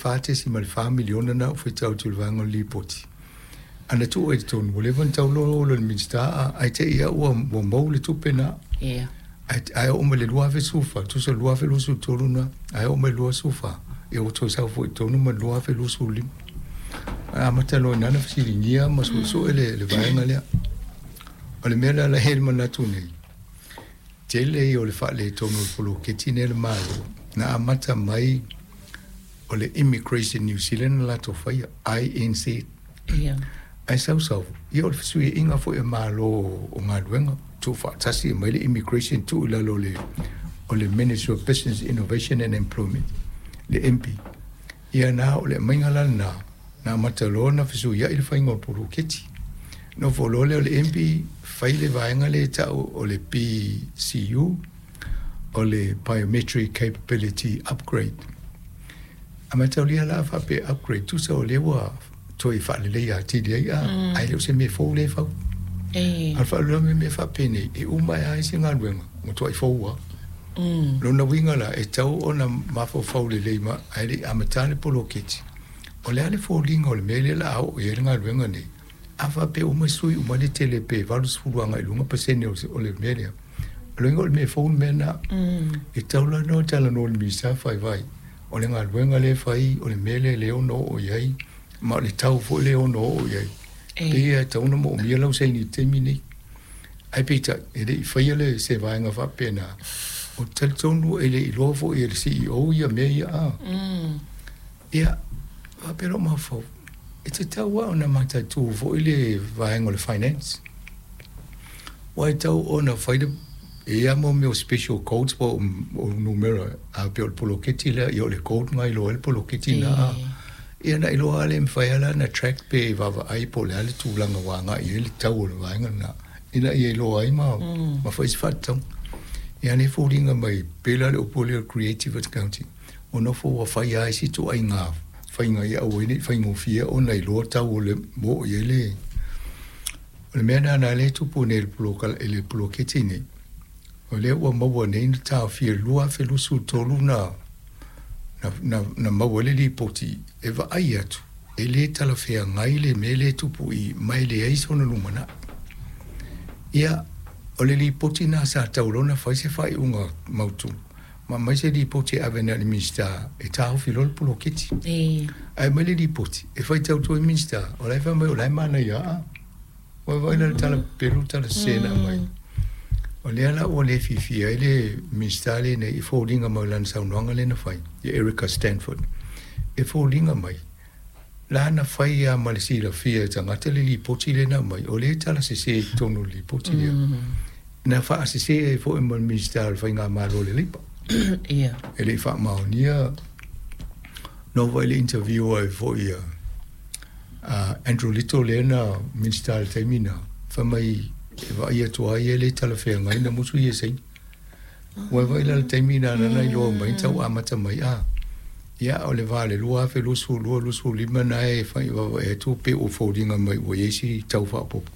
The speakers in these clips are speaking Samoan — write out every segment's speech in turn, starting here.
$4.4 miliona na ou faitau atu i le vaega o le lipoti. Ana tuu ai i totonu, ua leva ona tatau loa ona le Minisita ae te i lava ua maua le tupe lena. Ae oo mai le 2014, tusa o le 2023 lena, ae oo mai le 2024, ia ua toe sau foi i totonu ma le 2025. Ae amata loa i ina ona fesiligia ma suesue le vaega lea. O le mea la la e i ai le manatu nei, tele ia o le faaletonu o le poloketi lenei a le Malo, na amata mai o le Immigration New Zealand na latou faia, INZ. Ae sau sau, ia o le fesuiaiga foi a Malo o galuega, tuufaatasi mai le Immigration tuu i lalo o le Ministry of Business, Innovation and Employment, le MB. Ia na o le aumaiga la lena, na amata loa ona fesuiai le faiga o le poloketi. Nofo loa lea o le MB fai le vaega lea e tau o le BCU, o le Biometric Capability Upgrade. A mataulia la faapea upgrade, tusa o lea ua toe faaleleia atili ai, ae le o se mea fou lea e fau. A o le faalavelave mea faapenei, e uma ai lava se galuega, matuai fou lava. Lona uiga la, e tau ona mafaufau lelei ma ae le i amata le poloketi. O le a le foliga o le mea lea o le a oo i ai le galuega nei? A faapea uma sui uma le tele pe 80 agai i luga pasene o le mea lea. O le uiga o le mea fou le mea lena. E tau la ona talanoa i le Minisita vaivai. O le galuega lea e fai, o le mea lea e ono oo i ai, ma o le tau foi lea e ono oo i ai. Pei e tatau ona moomia lau saini i le taimi nei. Ae peitai, e le i faia le se vaega faapena. O talitonu e le iloa foi e le CEO ia mea ia a. Ia, faapea lou mafaufau, e tatau lava ona mataitu foi le vaega o le finance. Ua e tau ona fai le e ia mo mea o special codes po o numera a pei o le poloketi lea, ia o le code na iloa ai le poloketi na. Ia na iloa le mafai ala na track pe vaavaai po o le a le tulaga ua agai i ai le tau o le vaega lena. Ina ia iloa ai ma fai se faatatauga. Ia ne foliga mai pe la le upu lea o creative accounting. O nofo ua fai ai si ituaiga faiga ia aua ai ne i faigofie ona iloa tau o le mo i ai le o le mea lena lea e tupu nei i le poloketi nei. O lea ua maua nei na taofia i le 2023 na maua ai le lipoti e vaai atu e le talafeagai le mea lea e tupu i ma e leai sona lumanai. Ia, o le lipoti na sa tau loa ona fai se faaiuga mautu ma mai se lipoti e ave nei i le Minisita e taofi loa le poloketi. Ae mai le lipoti e faitau atu ai le Minisita, o la e fai mai o la e manaia a. Ua vaai la le tala pelu tala sese na aumai. O lea la ua le fiafia ai le Minisita lenei i foliga mai o lana saunoaga lea na fai, ia Erica Stanford. E foliga mai, la na fai lava ma le silafia e tagata le lipoti lea na aumai, o lea e tala sese i totonu o le lipoti lea. Na faasese ai foi ma le Minisita o le Faigamalo o le Leipa. E le i faamaonia no foi le interview ai foi a Andrew Little lea na Minisita i le taimi na, fai mai e vaai atu ai e le talafeagai na musu ia saini. Ua vaai la le taimi na na iloa mai tau amata mai a. Ia o le va le 2022 25 na e fai e atu pe o foliga mai ua i ai si tau faaopoopo.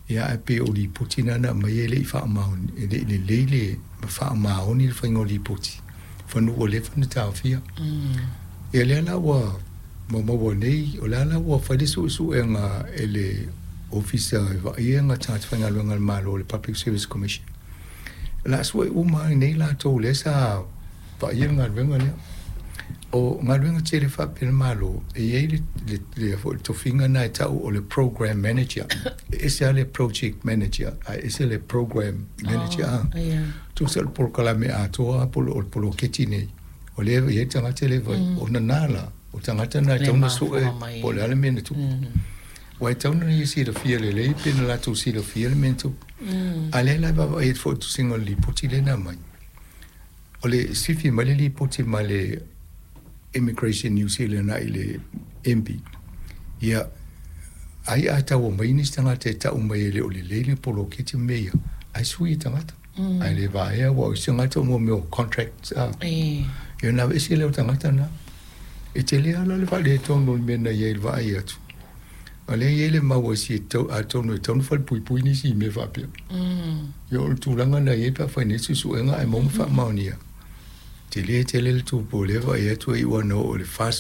Ia ae pe o lipoti na na aumai e le i faamaoni, e le i lelei le faamaoni le faiga o lipoti. Fanu ua leva ona taofia. Ia lea la ua maua nei, o lea la ua fai le suesuega e le ofisa e vaaia tagata faigaluega a le Malo, le Public Service Commission. La sue uma ai nei latou lea sa vaaia le galuega lea. O galuega tele faapea le Malo, e i ai le tofiga na e tau o le program manager. E ese lava le project manager, ae ese le program manager. Oh, ia. Tusa o le polokalame atoa po o le poloketi nei. O lea e i ai tagata le vai, o nana la, o tagata na e Le tau na sue mafua mai. Po o le a le mea na tupu. Ua e tau na ia silafia lelei pe na latou silafia le mea na tupu. A lea la e vaavaai atu foi i le tusiga o le lipoti lea na aumai. O le sifi mai le lipoti mai le Immigration New Zealand i le MB. Ia, ai a tau mai nisi tagata e tau mai e le o lelei le poloketi ma mea ia, ae sui e tagata. Ae le vaea ua o isi tagata o mea o contracts a. Ia na ese lea o tagata na. E tele lava le faaletonu o le mea na i ai le vaai atu. O lea e i ai le mau a si e tau, atonu e tau na falepuipui nisi i mea faapea. Ia o le tulaga na i ai pe a fai nei suesuega ae maua ma faamaonia. Tele tele le tupu o lea vaai atu e iu lava ina oo i le 40.